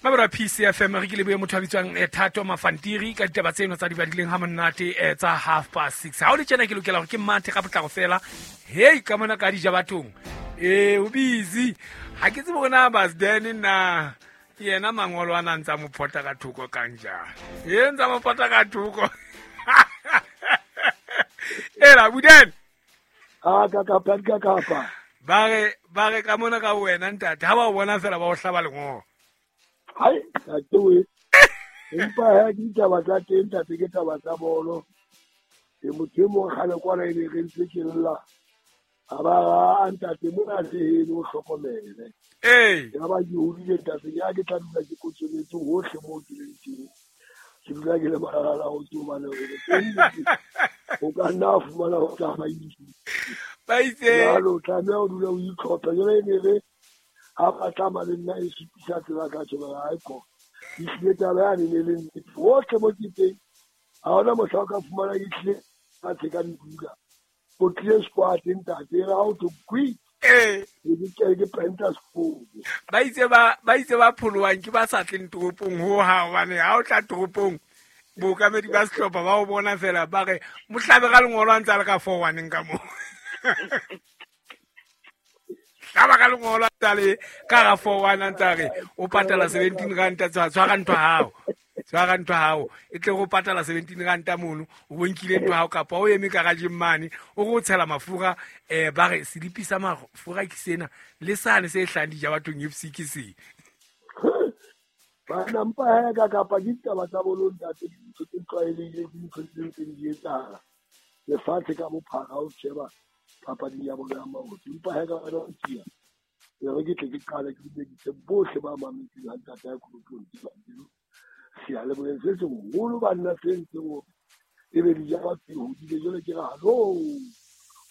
Mabra PCFM re ke lebohe motho a bitswang Thato Mafantiri ka ditaba tseno tsa di badileng ha monate tsa 6:30. Ha o le tjena ke lokela hore ke mathe ka potlako fela. Hei ka mona ka dija bathong. O busy. Ha ke tsebe hore na Basden na yena mangolo a na ntsa mo phota ka thoko kang jang. E ntsa mo phota ka thoko. Ela Buden. A ka ka ka ka. Ba re ka mona ka wena ntate ha ba o bona fela ba o hlaba lengolo. Hai, ntate we. Empa ha ke ditaba tsa teng ntate ke taba tsa bolo. E motho e mong kgale kwana e be re ntse ke lla. A ba a ntate mona se heno o hlokomele. Ee. Ya ba ke hodile ntate ya ke tla dula ke kotsoletse hohle moo ke leng teng. Ke dula ke le malala ho tsomane hore o ka nna fumana ho tsamaisa. Ba itse. Jwale o tlameha ho dula o itlhopha. Jwale e ne re ha ba tlama le nna e supisa tsela ka tjheba ha ko. Ehlile taba yane ne le nnete. Hohle mo ke teng ha hona mohla o ka fumana ehlile fatshe ka dipula. O tlile squat ntate ha o to quick. Ke penta sekolo. Ba itse ba pholowang ke ba sa tleng toropong ho ha hobane ha o tla toropong bookamedi ba sehlopha ba o bona fela ba re mohlabe ka lengolo a ntse a le ka 4-1 ka moo. Hlaba ka lengolo a ntse a le ka ga 4-1 a ntse a re o patala 17 ranta tshwara ntho hao. Tshwara ntho hao e tle go patala 17 ranta mono o bonkile ntho hao kapa o eme garageng mane o go tshela mafura ba re selipi sa mafura ke sena le sane se hlang dija bathong FC ke se. Bana mpa ha ka kapa ke ditaba tsa bolo ntate dintho tse tlwaelehileng ke dintho tse ntseng di etsahala lefatshe ka bophara o sheba papading ya bolo ya maoto. Empa ha ka wena o tia re ke tle ke qale ke dumedise bohle ba mametseng ha ntate ya Kolopong Dibakeng. Seyalemoyeng se seholo banna se ntseng hore ebe dija batho di hodile jwale ke re hallo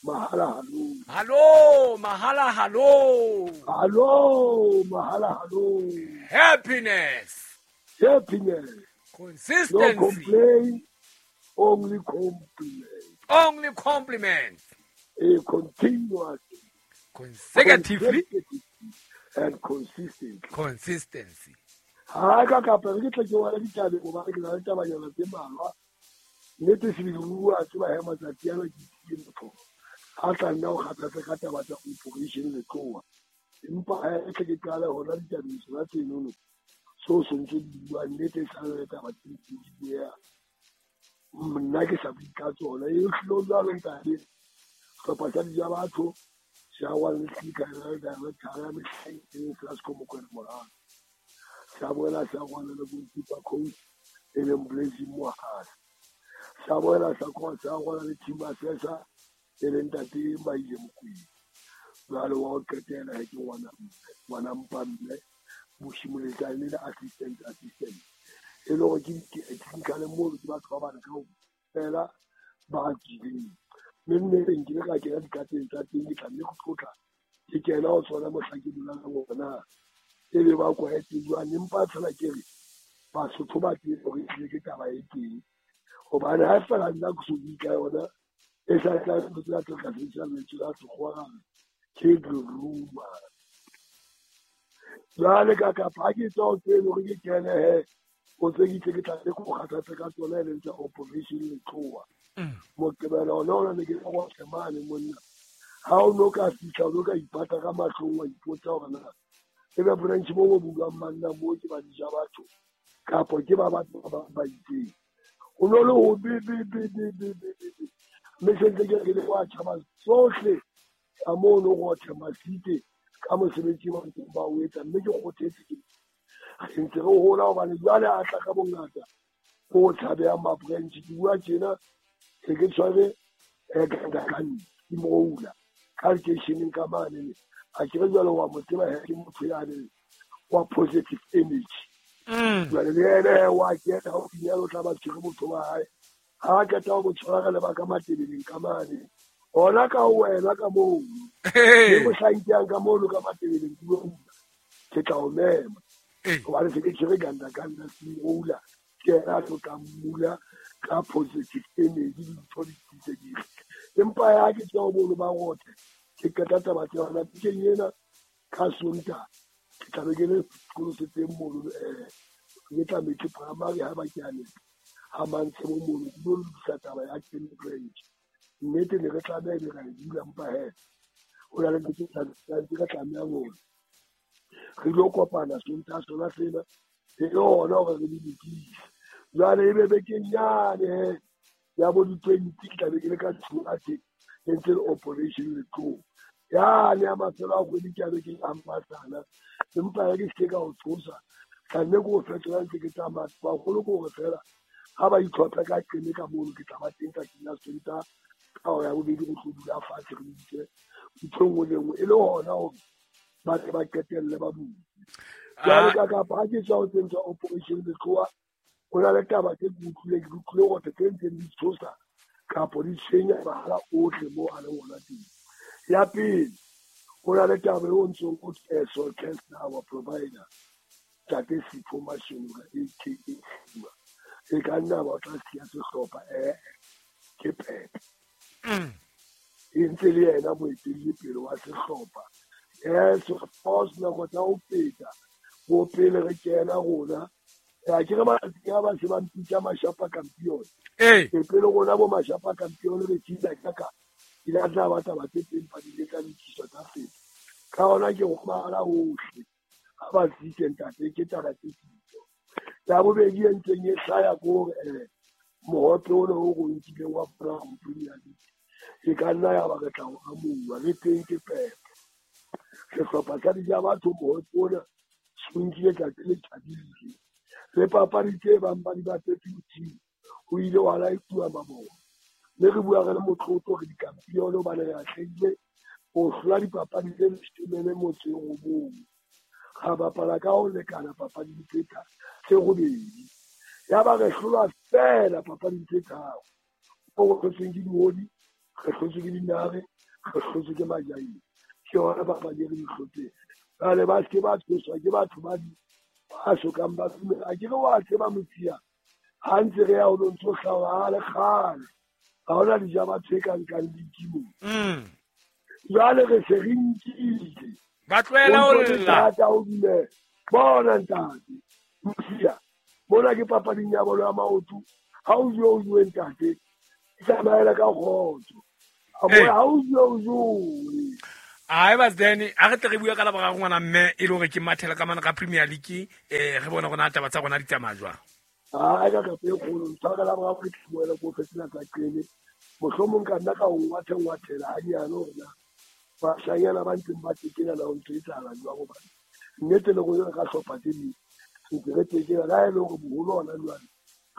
mahala hallo. Hallo mahala hallo. Hallo mahala hallo. Happiness. Happiness. Consistency. No complaint, only compliment. Only compliment. A continuous. Consecutively. And consistently. Consistency. Ha ka kapa re tle ke wala ditaba go ba ke na le taba yona tse malwa. Nnete se bua tseba he matsatsi ana ke ke motho. Ha tla nna o kgathatsa ka taba tsa operation le tloa. Empa ha re tle ke qala hona ditabeng tsena tsenono. So ntse di bua nnete sa le taba tse di bua. Nna ke sa bue ka tsona e hlilo jwalo ntate. Sehlopha sa dija batho sa wa le tlika le director ya mehleng e Flasco Mokwena Moralo. Sa boela sa rwala le goalkeeper coach e leng Blessing Mohale. Sa boela sa rwala le team assessor e leng ntate Maile Mokwena. Jwale wa ho qetela he ke ngwana Mpamme Moshimoletsane le assistant. E le hore ke technical moo ke batho ba bana kaofela ba tswileng. Mme nneteng ke ile ka kena dikateng tsa teng ke tla mme go tlotla ke kena ho tsona mohla ke dulang hore e be ba kwaetse jwang empa fela ke re Basotho ba teng hore ehlile ke taba e teng hobane ha fela nna ke so bue ka yona e sa tla ntho tsa tla sebedisa lentswe la sekgowa ra re ke di-rumour. Jwale ka kapa ha ke tswa ho tseno hore ke kene he o tse ke tle ke tla ke go kgathatsa ka tsona e leng tsa operation Letloa. Moqebelo ona ona ne ke go mane monna ha o no ka fihla o no ka ipata ka mahlong wa ipotsa hore na ebe branch mo bo buang manna mo ke ba dija batho kapo ke ba batho ba ba itseng. O no le ho be mme sentse ke le wa tjhaba tsohle ka mono go Masite ka mosebetsi wa ntseng ba o etsa mme ke kgothetse ke re ntse re hola hobane jwale a tla ka bongata o tshabehang ma branch ke bua tjena se ke tshware ka moula ka lekeisheneng ka mane a ke re jwale wa mo tseba he ke motho yane wa positive energy. Jwale le ene wa kena haufinyana o tla ba tshwere motho wa hae ha qeta ho mo tshwara le ba ka Matebeleng ka mane ona ka wena ka moo le mohlankeng ka mono ka Matebeleng ke bua ke tla o mema hobane se ke tshwere ganda semoula ke ena a tlo tla mmula ka positive energy dintho di tiisedile. Empa ya ke tswa ho bono ba rothe ke qeta taba tsa yona bekeng ena ka Sontaha Ke tla be ke le sekolo se teng mono ke tla metsi primary ha ba ke a nepa ha Mantshebo mono ke lo lokisa taba ya Qeme branch. Nnete ne re tlameha ebe ra e bula mpa he ho na le ntho tse tse re tlamehang hore re ilo kopana Sontaha sona sena e le hona hore re di lokise. Jwale ebe bekeng yane he ya bo di-20 ke tla be ke le ka Tshwane e ntse le operation Letloa. Yane ya mafelo a kgwedi ke a be ke ampasana empa ha ke se ka o tshosa tla nne ke o fetola ntse ke tsamaya. Baholo ke hore fela ha ba itlhophe ka Qeme ka mono ke tla ba teng tsatsing la Sontaha ka hora ya bobedi re tlo dula fatshe re itse ntho e nngwe le nngwe e le hona hore ba tle ba qetelle ba bule. Jwale ka kapa ha ke tswa ho tseng tsa operation Letloa ho na le taba tse ke utlwileng ke utlwile hore tse ntseng di tshosa kapo di tshwenya mahala ohle moo a leng hona teng. Ya pele ho na le taba eo ntsong o Solcast our provider Ntate Sipho Mashonga aka Sima e ka nna ba o tla siya sehlopha ke Pepe. E ntse le yena moetelli pele wa sehlopha. Yes, of course nako tsa ho feta bo pele re kena rona ya ke re matsatsi a ba se ba mpitsa Mashapa Campion. E pele rona bo Mashapa Campion re tsitsa ka ke la tla ba taba tse teng pa di le tsa lokiswa tsa feta. Ka hona ke go mahala hohle ha ba tsitse ntate ke taba tse tsitso. Ya bobedi e ntseng e hlaya ke hore mohope ona o re o nkileng wa Brown Premier League e ka nna ya ba re tla o amohuwa le teng ke Pepe. Sehlopha sa Dija Batho mohope ona se o nkile tsatsi le tjhabile. Le papadi tse bang ba di bapetse bosiu ho ile wa laetuwa mabone. Mme re bua re le motlotlo re dikampione hobane re atlehile ho hlola dipapadi tse 19. Ra bapala ka ho lekana papading tse robedi. Ya ba re hlolwa feela papading tse tharo. Mo re hlotsweng ke dihodi, re hlotswe ke dinare, re hlotswe ke majaeng. Ke yona papadi e re di hlotseng. Jwale ba se ke ba tshoswa ke batho ba di ba sokang ba dumela. A ke re wa tseba Motsia ha ntse re ya ho lo ntso hlaha le kgale. Ha hona Dija Batho e ka nkang league mo. Jwale re se re nkile. Ba tlohela ho lla. Ho dumela. Bona ntate Motsia mona ke papading ya bolo ya maoto. Ha o jowe o jowe ntate. Tsamaela ka kgotso. Ha o jowe o jowe. Ai ba then a re tle re bua ka la boraro ngwana mme e le hore ke mathela ka mana ka Premier League re bona rona taba tsa rona di tsamaya jwang. Ai ka ka pe kgolo ntshwara ka la boraro ke tloela ko fetela tsa Qeme. Mohlomong ka nna ka o ngwathela hanyane hore na bashanyana ba ntseng ba tekena na ho ntho e etsahala jwang hobane nnete le rona re ka hlopha tse ding ntse re tekena la e le hore boholo hona jwale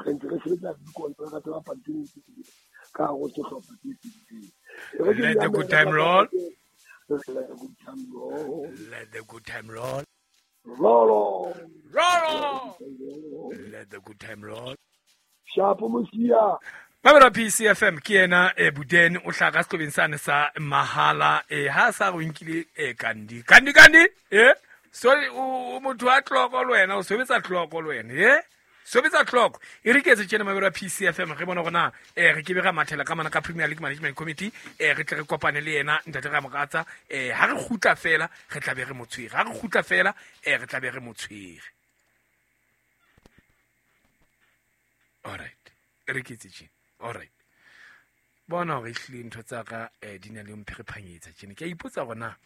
re ntse re sebetsa dikontraka tsa bapadi tse ding ka hare ho sehlopha tse fetileng. Let the good time roll. Let the good time roll. Let the good time roll. Roll on. Roll on. Let the good time roll. Shapo Mosia. Mamela PCFM ke yena Buden o hlaka sehlobeng sane sa mahala ha sa re o nkile Kandi. Kandi so o motho wa tloko le wena o sebetsa tloko le wena sebetsa tloko e re ke etse tjena mamela PCFM re bona hore na re ke be ra mathela ka mana ka Premier League Management Committee re tle re kopane le yena ntate Ramakatsa ha re kgutla fela re tla be re mo tshwere ha re kgutla fela re tla be re mo tshwere. All right re ke etse tjena. All right bona hore ehlile ntho tsa ka di na le mpherephanyetsa tjena ke a ipotsa hore na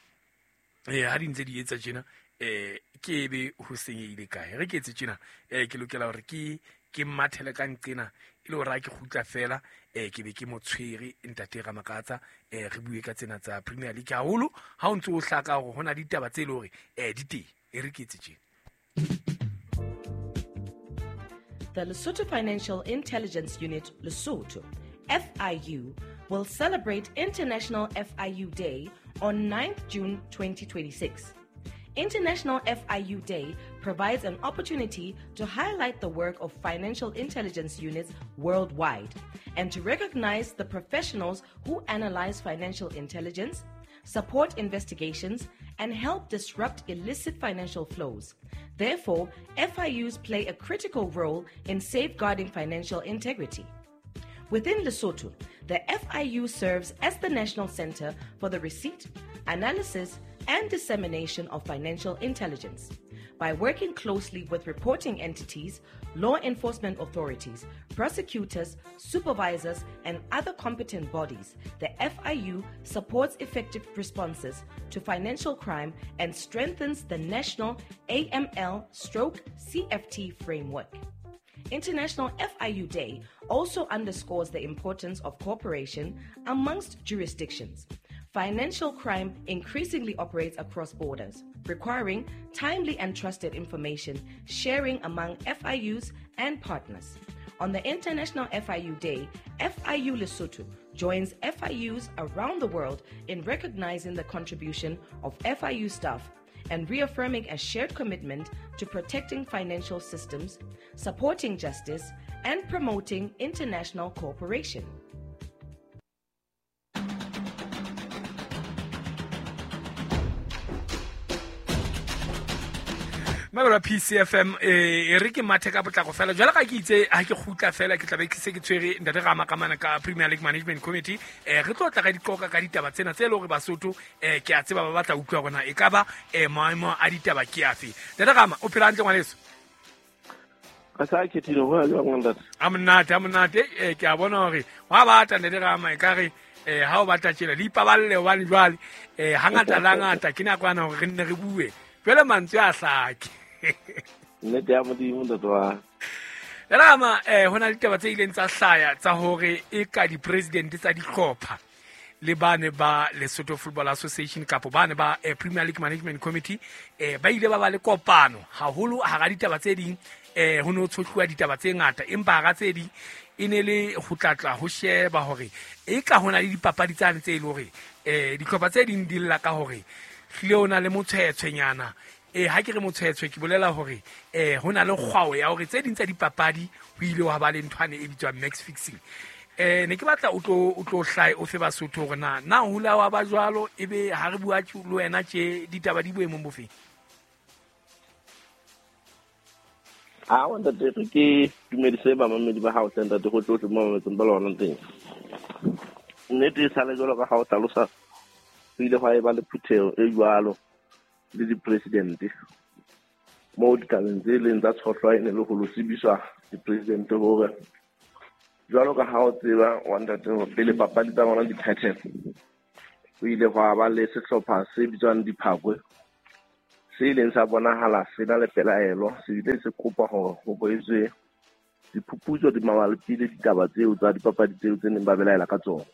ha di ntse di etsa tjena ke ebe ho senyehile kae. Re ke etse tjena ke lokela hore ke mathele ka nqena e le hore ha ke kgutla fela ke be ke mo tshwere ntate Ramakatsa re bue ka tsena tsa Premier League haholo ha o ntse o hlaka hore hona ditaba tse le hore di teng. E re ke etse tjena. The Lesotho Financial Intelligence Unit, Lesotho, FIU, will celebrate International FIU Day on 9th June 2026. International FIU Day provides an opportunity to highlight the work of financial intelligence units worldwide and to recognize the professionals who analyze financial intelligence, support investigations, and help disrupt illicit financial flows. Therefore, FIUs play a critical role in safeguarding financial integrity. Within Lesotho, the FIU serves as the national center for the receipt, analysis, and dissemination of financial intelligence. By working closely with reporting entities, law enforcement authorities, prosecutors, supervisors, and other competent bodies, the FIU supports effective responses to financial crime and strengthens the national AML/CFT framework. International FIU Day also underscores the importance of cooperation amongst jurisdictions. Financial crime increasingly operates across borders, requiring timely and trusted information sharing among FIUs and partners. On the International FIU Day, FIU Lesotho joins FIUs around the world in recognizing the contribution of FIU staff and reaffirming a shared commitment to protecting financial systems, supporting justice, and promoting international cooperation. Mabelo PCFM e re ke mathe ka potlako fela jwale ga ke itse ha ke kgutla fela ke tlabe ke se ke tshwere ntate ga makamana ka Premier League Management Committee re tlo tla ka diqoka ka ditaba tsena tse le hore Basotho ke a tseba ba batla utlwa hore na e ka ba maemo a ditaba ke afe. Ntate Rama o phela hantle ngwaneso? Ka sa khethile ho ya jwang ntate? A monate ke a bona hore wa batla ntate Rama e ka re ha o batla tjela le ipaballe hobane jwale hangata la ngata ke nakwana hore re nne re bue jwale mantswe a hlake. Nnete ya Modimo ntate wa Rama ho na le ditaba tse ileng tsa hlaya tsa hore e ka di-president tsa dihlopha le bane ba Lesotho Football Association kapo bane ba Premier League Management Committee ba ile ba ba le kopano haholo hara ditaba tse ding ho no tshohluwa ditaba tse ngata empa hara tse ding e ne le ho tlatla ho sheba hore e ka hona le dipapadi tsane tse e le hore dihlopha tse ding di lla ka hore hlile o na le motshwetshwenyana. Ha ke re motshwetshwe ke bolela hore ho na le kgwao ya hore tse ding tsa dipapadi ho ile wa ba le nthwane e bitswang match fixing. Ne ke batla o tlo hlae o fe Basotho hore na hula wa ba jwalo ebe ha re bua le wena tje ditaba di boemong bofe? A wa ntate re ke dumedise bamamedi ba hao ntate go tlotle mo mametseng ba lona teng. Nnete e sale jwalo ka ha o hlalosa ho ile hwa eba le phutheho e jwalo le di-president mo ditabeng tse leng tsa tshohlwa e ne le ho lo tsebiswa di-president hore jwalo ka ha o tseba wa ntate pele papadi tsa bona di phethela ho ile hwa ba le sehlopha se bitswang Diphakwe se ileng sa bonahala se na le pelaelo se bile se kopa hore ho boetswe diphuputso di mabapi le ditaba tseo tsa dipapadi tseo tse neng ba belaela ka tsona.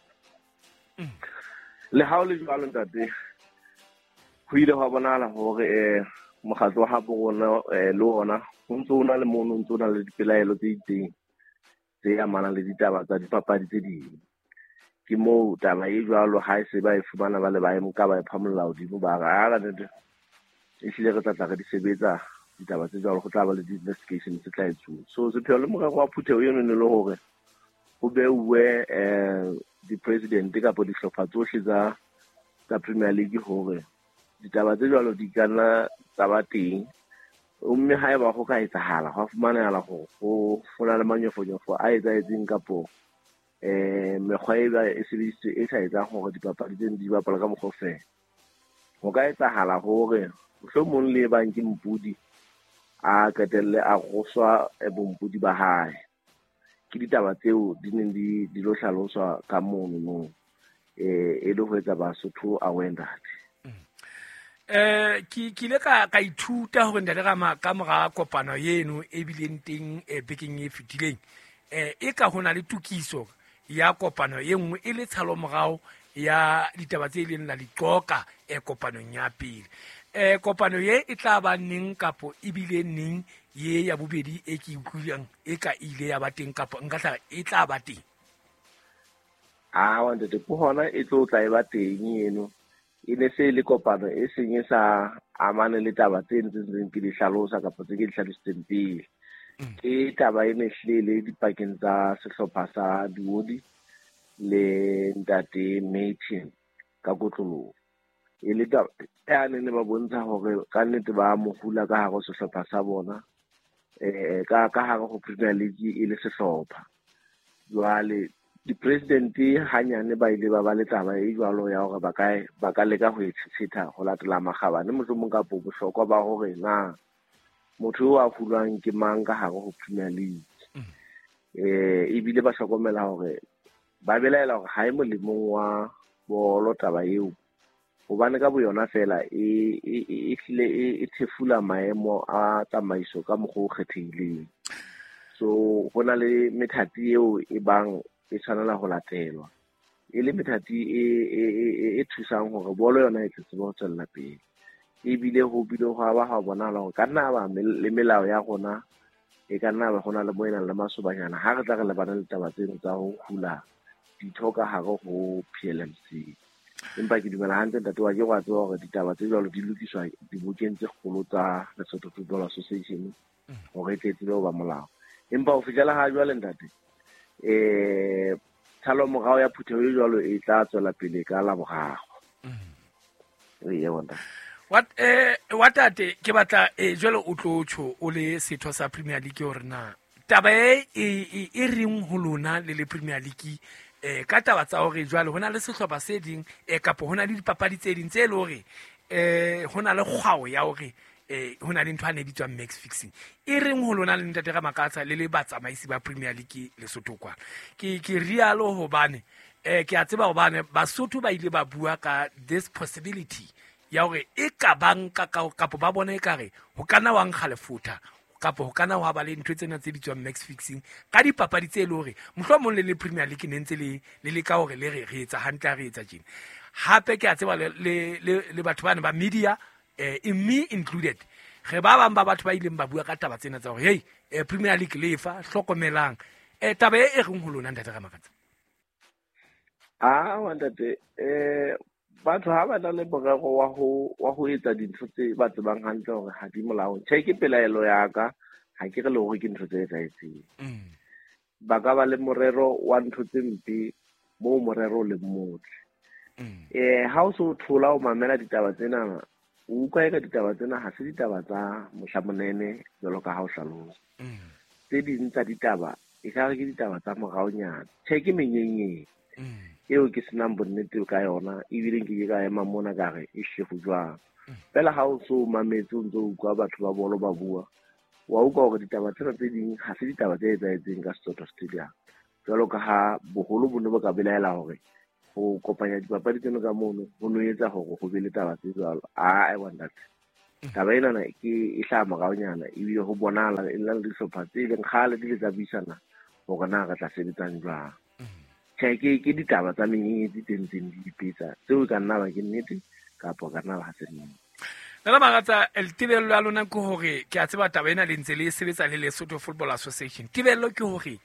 Le ha o le jwalo ntate ho ile hwa bonahala hore mokgatlo wa habo rona le ona ho ntso o na le mono ntso o na le dipelaelo tse itseng tse amanang le ditaba tsa dipapadi tse ding. Ke moo taba e jwalo ha e se ba e fumana ba le ba e nka ba e phamolla hodimo ba re a ka nnete ehlile re tla tla re di sebetsa ditaba tse jwalo, go tla ba le di-investigation tse tla etsuwa. So sepheo le morero wa phutheho eno ne le hore ho beuwe di-president kapa dihlopha tsohle tsa Premier League hore ditaba tse jwalo di ka nna tsa ba teng, mme haeba ho ka etsahala hwa fumanehala hore ho na le manyofonyofo a etsahetseng kapo mekgwa e ba e sebedisitswe e sa etsang hore dipapadi tseno di bapalwe ka mokgwa o fela. Ho ka etsahala hore mohlomong le bang ke mpudi a qetelle a roswa bompudi ba hae. Ke ditaba tseo di neng di lo hlaloswa ka mono no e le ho etsa Basotho aware ntate. Ke ile ka ithuta hore ntate Rama ka mora kopano eno e bileng teng bekeng e fetileng e ka hona le tokiso ya kopano e nngwe e le tshalomorao ya ditaba tse ileng la diqoka kopanong ya pele. Kopano ye e tla ba neng kapo ebile neng ye ya bobedi e ke utlwileng e ka ile ya ba teng kapo nka tla e tla ba teng? Ah, ntate ke hona e tlo tla e ba teng eno. E ne se le kopano e seng e sa amane le taba tse ntseng ke di hlalosa kapa tse ke di hlalositseng pele. Ke taba e ne hlile le dipakeng tsa sehlopha sa Diodi le ntate Martin ka kotloloho. E le taba ya ne ba bontsha hore ka nnete ba mo hula ka hare ho sehlopha sa bona ka hare ho Premier League e le sehlopha. Jwale Di-president hanyane ba ile ba ba le taba e jwalo ya hore ba ka leka ho e tshetha ho latela makgabane mohlomong kapo bohlokwa ba hore na motho o a hulwang ke mang ka hare ho Premier League. Ebile ba hlokomela hore ba belaela hore ha e molemong wa bolo taba eo, hobane ka boyona fela e hlile e thefula maemo a tsamaiso ka mokgwa o kgethehileng. So ho na le methati eo e bang e tshwanela ho latelwa, e le methati e thusang hore bolo yona e tle tsebe ho tswella pele. Ebile ho bile ho ba ha bonahala hore ka nna ba le melao ya rona e ka nna ba ho na le mo e nang le masobanyana ha re tla re lebana le taba tseno tsa ho hula ditho ka hare ho PLMC. Empa ke dumela hantle ntate wa ke wa tseba hore ditaba tse jwalo di lokiswa dibokeng tse kgolo tsa Lesotho Football Association hore e tle tsebe ho ba molao. Empa ho fihlela ha jwale ntate, tshalo morao ya phutheho e jwalo e tla tswela pele ka Laboraro. Wa tate ke batla jwale o tlo tjho o le setho sa Premier League hore na taba e reng ho lona le le Premier League ka taba tsa hore jwale hona le sehlopha se ding kapo hona le dipapadi tse ding tse le hore hona le kgwao ya hore hona le ntho a ne bitswang match fixing. E reng ho lona le ntate Ramakatsa le le batsamaisi ba Premier League Lesotho kwa. Ke rialo hobane ke a tseba hobane Basotho ba ile ba bua ka this possibility ya hore e ka banka kapo ba bona ekare ho kana wa nkga lefutha kapo ho kana wa ba le ntho tsena tse bitswang match fixing ka dipapadi tse le hore mohlomong le le Premier League ne ntse le le ka hore le re etsa hantle re etsa tjena. Hape ke a tseba le batho bana ba media me included re ba bang ba batho ba ileng ba bua ka taba tsena tsa hore hey Premier League lefa hlokomelang taba e reng ho lona ntate Ramakatsa? Ntate batho ha ba na le morero wa ho etsa dintho tse ba tsebang hantle hore ha di molaong. Tjhe, ke pelaelo ya ka, ha ke re le hore ke ntho tse etsahetseng. Ba ka ba le morero wa ntho tse mpe moo morero o leng motle. Ha o so thola o mamela ditaba tsena, o utlwa eka ditaba tsena ha se ditaba tsa mohlamonene jwalo ka ha o hlalosa. Tse ding tsa ditaba e ka re ke ditaba tsa moraonyana. Tjhe, ke menyenyeng eo ke senang bonnete ka yona, ebile nke ke ka ema mona ka re e hle ho jwang. Fela ha o so mametse o ntso utlwa batho ba bolo ba bua, wa utlwa hore ditaba tsena tse ding ha se ditaba tse etsahetseng ka Setotho Stadium. Jwalo ka ha boholo bo ne bo ka belaela hore ho kopanya dipapadi tseno ka mono ho no etsa hore ho be le taba tse jwalo. Wa ntate, taba enana ke e hlaha moraonyana, ebile ho bonahala e le dihlopha tse leng kgale di le tsa buisana hore na re tla sebetsang jwang. Tjhe, ke ditaba tsa menyenyetsi tse ntseng di ipetsa tseo ka nna ba ke nnete kapa ka nna ba ha se nnete. Nna Maratsa, tebello ya lona ke hore ke a tseba taba ena le ntse le sebetsa le Lesotho Football Association. Tebello ke hore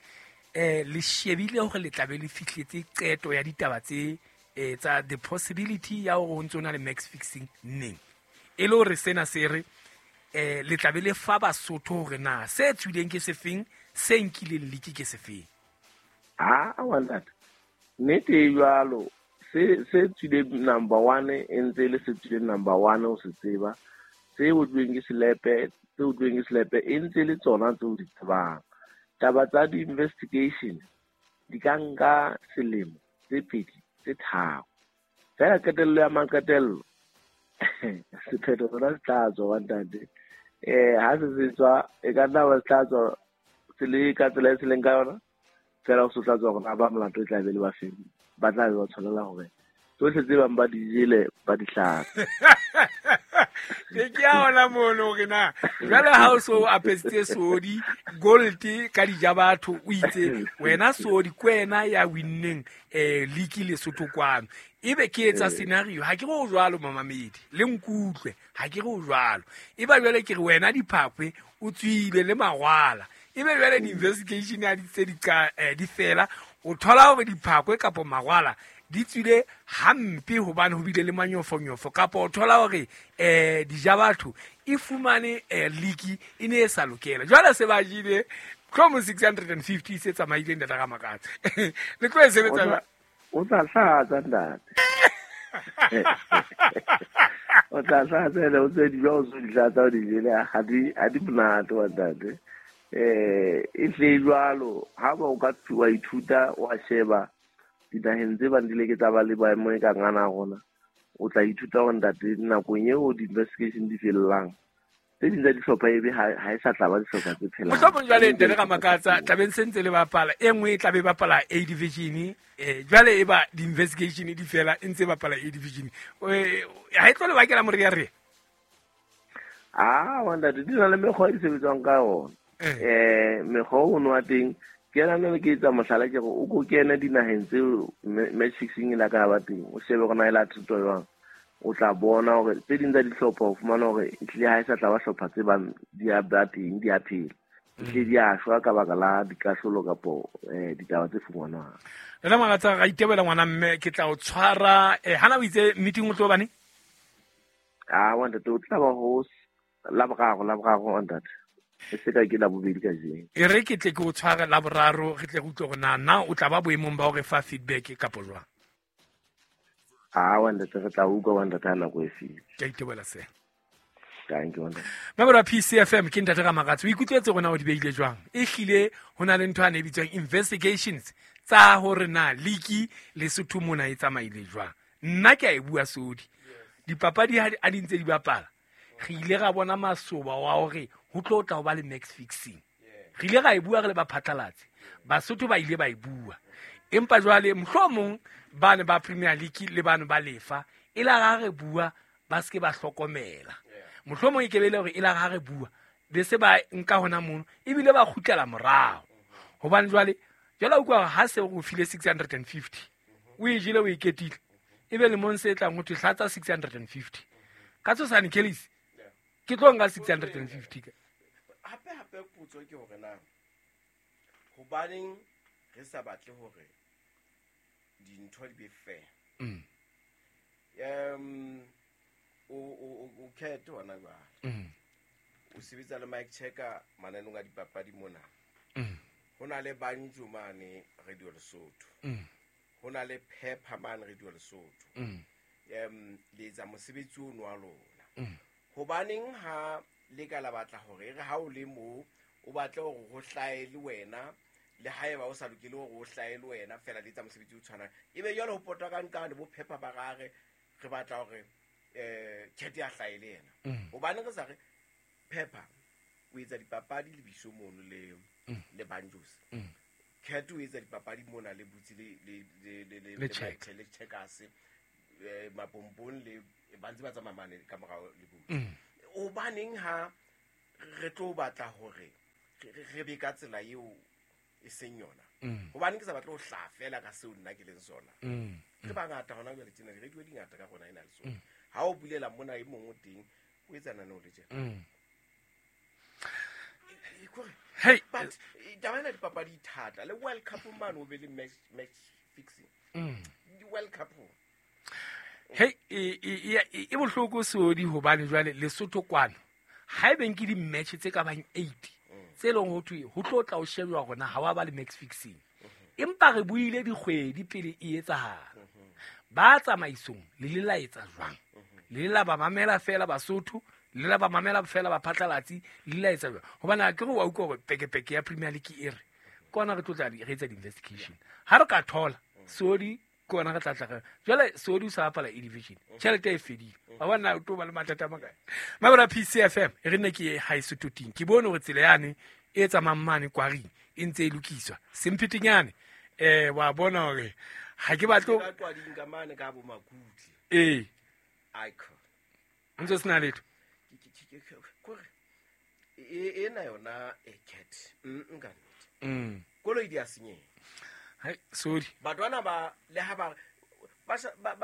le shebile hore le tlabe le fihletse qeto ya ditaba tse tsa the possibility ya hore ho ntso na le match fixing neng. E le hore sena se re le tlabe le fa Basotho hore na se tswileng ke sefeng, se nkileng league ke sefeng. Wa ntate, nnete e jwalo. Se tswileng number 1 e ntse le se tswileng number 1 o se tseba, se utlweng ke selepe, se utlweng ke selepe e ntse le tsona tseo di tsebang. Taba tsa di-investigation di ka nka selemo tse 2 tse 3. Fela qetello ya maqetello sephetho sona se tla tswa wa ntate. Ha se tswa e ka nna ba se tla tswa se le ka tsela e se leng ka yona, fela o se tla tswa hore ba molato e tla be le ba feng, ba tla be ba tshwanela hore tsohle tse bang ba di jele ba di hlatse. Ke a ona mono hore na jwale ha o so apesitse sodi gold ka dija batho o itse wena sodi ke wena ya winneng league Lesotho kwano. Ebe ke etsa scenario, ha ke re o jwalo mamamedi le nkutlwe, ha ke re o jwalo. Eba jwale ke re wena diphakwe o tswile le magwala, ebe jwale di-investigation ya di tse di fela, o thola hore diphakwe kapo magwala di tswile hampe hobane ho bile le manyofonyofo, kapo o thola hore dija batho e fumane league e ne e sa lokela. Jwale se ba jile tlhomo 650 se tsamaileng ntate Ramakatsa. Le tlo e sebetsa o tla hlatsa ntate. O tla hlatsa ene o tse di jwa o so di hlatsa o di jele ha di monate wa ntate. E tle jwalo ha ba o ka wa ithuta wa sheba dinaheng tse bang di le ke tsa ba le boemo e ka ngana rona, o tla ithuta hore ntate nakong eo di-investigation di fellang tse ding tsa dihlopha ebe ha e sa tla ba dihlopha tse phelang. Mohlomong jwale ntate Ramakatsa tlabeng se ntse le bapala e nngwe e tla be bapala A division, jwale e ba di-investigation di fela e ntse bapala A division, ha e tlo le bakela morearea? Ah, ntate di na le mekgwa e di sebetswang ka yona. Mekgwa ono wa teng ke ena le ke etsa mohlala ke gore o ko kene dinaheng tseo match fixing e la ka ba teng, o shebe gore na e la thuto jwang, o tla bona hore tse ding tsa dihlopha o fumana hore ehlile ha e sa tla ba hlopha tse bang di a ba teng, di a phela, ehlile di a shwa ka baka la dikahlolo kapo ditaba tse fumanwang. Rena Makatsa ra itebela ngwana mme ke tla o tshwara hana o itse meeting o tlo bane? Ah, wa ntate o tla ba ho Laboraro ntate. E se ka ke la bobedi ka jeno. E re ke tle ke o tshware Laboraro re tle re utlwe hore na o tla ba boemong ba hore fa feedback kapo jwang. Ah, wa ntate re tla utlwa wa ntate ha nako e fihla. Ke a itebohela se. Thank you ntate. Mabura PCFM ke ntate Ramakatsa. O ikutlwetse rona o di beile jwang? E hlile ho na le ntho a ne e bitswang investigations tsa hore na league Lesotho mona e tsamaile jwang. Nna ke a e bua sodi. Dipapadi ha di ntse di bapala, re ile ra bona masoba wa hore ho tlo tla ho ba le match fixing. Re ile ra e bua re le ba phatlalatse. Basotho ba ile ba e bua. Empa jwale mohlomong ba ne ba Premier League le bana ba lefa e la ra re bua ba se ke ba hlokomela. Mohlomong e ke be le hore e la ra re bua be se ba nka hona mono ebile ba kgutlela morao. Hobane jwale jwale o utlwa ha se o file 650 o e jele o e ketile ebe le mong se tlang ho thwe hlatsa 650 ka tshosane Kellis ke tlo nka 650 ka. Hape potso ke hore na hobaneng re sa batle hore dintho di be fair? O khethe hona jwale. O sebetsa le Mike Checker mananeng a dipapadi mona. Ho na le Banjo mane Radio Lesotho. Ho na le Pepper mane Radio Lesotho. Le etsa mosebetsi ono wa lona. Hobaneng ha le ka la batla hore re ha o le mo o batle hore ho hlahe le wena le haeba o sa lokele hore o hlahe le wena fela le etsa mosebetsi o tshwanang, ebe jwale ho potwa ka nqane bo Pepper ba gare re batla hore Khethe ya hlahe le yena. Hobaneng re sa re Pepper o etsa dipapadi le Biso mono le Banjos, Khethe o etsa dipapadi mona le Butsi le le Checkers, Mapompong le ba ntse ba tsamaya mane ka morao le Butsi. Hobaneng ha re tlo batla hore re be ka tsela eo e seng yona? Hobaneng ke sa batle ho hlaha fela ka seo nna ke leng sona? Ke bangata hona jwale tjena di-radio di ngata ka rona ena le sona. Ha o bulela mona e mong o teng o etsa naneo le tjena. Hey, but taba ena dipapadi e thata le World Cup mane o be le match fixing. Di-World Cup. Hey, e bohloko sodi hobane jwale Lesotho kwano ha ebe nke di-match tse ka bang 8 tse leng ho thwe ho tlo tla o shebjwa hore na ha wa ba le match fixing. Empa re buile dikgwedi pele e etsahala. Ba tsamaisong le le la etsa jwang? Le la ba mamela fela Basotho, le la ba mamela fela ba phatlalatsi, le la etsa jwang? Hobane ha ke re wa utlwa hore pekepeke ya Premier League e re kona re tlo tla re etsa di-investigation. Ha re ka thola sodi kona re tla tla jwale sodi o sa bapala A division, tjhelete e fedile. Wa bona o tlo ba le mathata a makae. Mabura PCFM e re nne ke ha e Sototing. Ke bone hore tsela yane e tsamayang mane kwaring e ntse e lokiswa. Semphetenyane wa bona hore ha ke batlo ka kwading ka mane ka bo Makutle. Icon. Ntse sena letho. Kore ena yona e cat. Nka nnete. Koloi di a senyeha. Hai, sorry. Batho ba le ha ba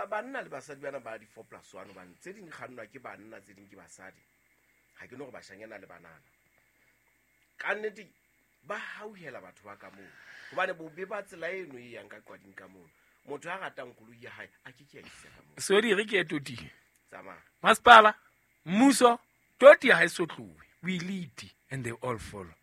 banna le basadi bana ba di 4+1 hobane tse ding kgannwa ke banna tse ding ke basadi. Ha ke no gore bashanyana le banana. Ka nnete ba hauhela batho ba ka moo. Hobane bobe ba tsela eno e yang ka qwading ka moo. Motho a ratang koloi ya hae a ke ke a isa ka moo. Sorry re ke toti. Tsamaya. Masipala, mmuso, toti ha e so tlohe. We lead and they all follow.